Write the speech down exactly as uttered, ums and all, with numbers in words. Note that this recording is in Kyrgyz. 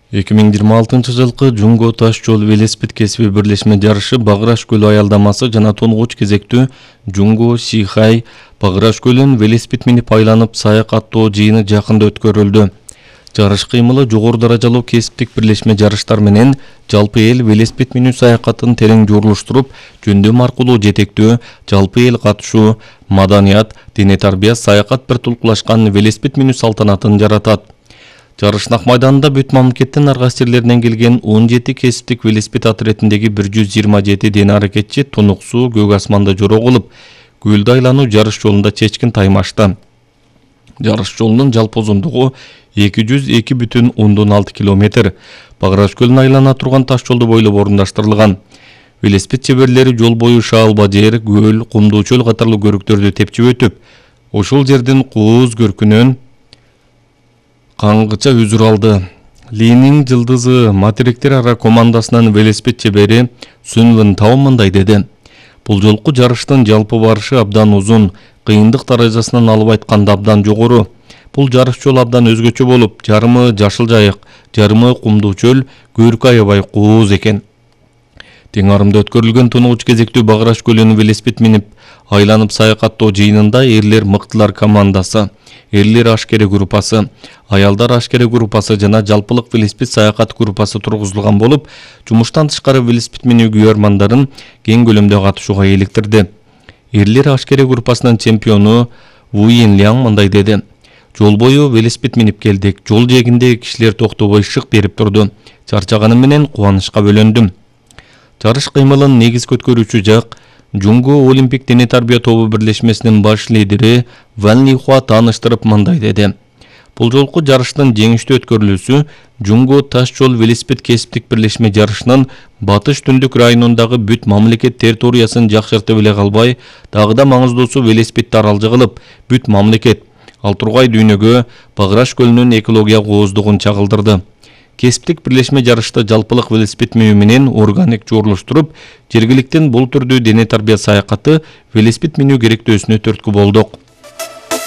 эки миң жыйырма алтынчы жылкы Жунго таш жол велосипед кесиби бирлешме жарышы Багыраш көлү аялдамасы жана тонгуч кезектүү Жунго Сихай Багыраш көлүн велосипед минип айланып саякаттоо жыйыны жакында өткөрүлдү. Жарыш кыймылы жогору даражалуу кесиптик бирлешме жарыштар менен жалпы эл велосипед минүү саякатын терең журлуштуруп, жөндөм аркылуу жетектөө, жалпы эл катышуу, маданият, дене тарбия, саякат бир тулкулашкан велосипед минүү салтанатын жаратат. Жарыш Нак майданында бүт мамлекеттин ар кайсы жерлеринен келген он жети кесиптик велосипед отрядындагы бир жүз жыйырма жети дене аракетчи тунук суу, көк асманда жороо кылып, көлдү айлануу жарыш жолунда чечкин таймашты. Жарыш жолунун жалпы узундугу эки жүз эки бүтүн ондон алты километр. Багыраш көлүн айлана турган таш жолду бойлоп орундаштырылган. Велосипед чеберлери жол бою шаалба жер, көл, кумдуу чөл катарлуу көрүктөрдү тепчип өтүп, ошол жердин кооз көркүнөн каңгыча үзүр алды. Линин жылдызы материктер ара командасынын велосипед чебери Сүнвын Тао мындай деди. Бул жолку жарыштын жалпы барышы абдан узун, кыйындык даражасынан алып айтканда абдан жогору. Бул жарыш жол абдан өзгөчө болуп, жарымы жашыл жайык, жарымы кумдуу чөл, көркү аябай кооз экен. Тең арымда өткөрүлгөн тунугуч кезектүү Багыраш көлүн велосипед минип айланып саякаттоо жыйынында эрлер мыктылар командасы, эрлер ашкере группасы, аялдар ашкере группасы жана жалпылык велосипед саякат группасы тургузулган болуп, жумуштан тышкары велосипед минүү күйөрмандарын кең көлөмдө катышууга иликтирди. Эрлер ашкере группасынын чемпиону Вуин Ляң мындай деди. Жол бою велосипед минип келдик. Жол жээгинде кишилер токтобой шык берип турду. Чарчаганым менен кубанычка бөлөндүм. Жарыш кыймылын негизги өткөрүүчү жак Жунго Олимпик дене тарбия тобу бирлешмесинин баш лидери Ван Лихуа тааныштырып мындай деди. Бул жолку жарыштын жеңиштүү өткөрүлүүсү Жунго таш жол велосипед кесиптик бирлешме жарышынын батыш түндүк районундагы бүт мамлекет территориясын жакшыртып эле калбай, дагы да маңыздуусу велосипедди аралжы кылып, бүт мамлекет ал тургай дүйнөгө Багыраш көлүнүн экология кооздугун чагылдырды. Кесиптик бирлешме жарышта жалпылык велосипед минүү менен органик журлуштуруп, жергиликтин бул түрдүү дене тарбия саякаты велосипед минүү керектөөсүнө түрткү болдук.